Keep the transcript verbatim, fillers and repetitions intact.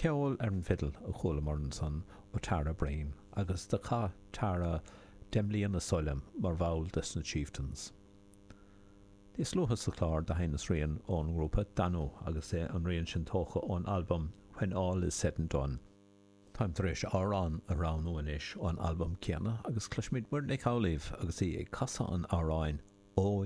Ceol ar an bhfidil a chualamar ansan ó Tara Breen agus do chaith Tara deich mbliana is dóigh liom mar bhall des na Chieftains. Níos luaithe sa chlár do sheinneas rian ón ngrúpa Danú agus é an rian sin tógtha ón albam When All Is Said and Done. Táim tar éis amhrán a roghnú anois ón albam céanna agus cloisfimid Muireann Nic Amhlaoibh agus í ag casadh an amhráin Ó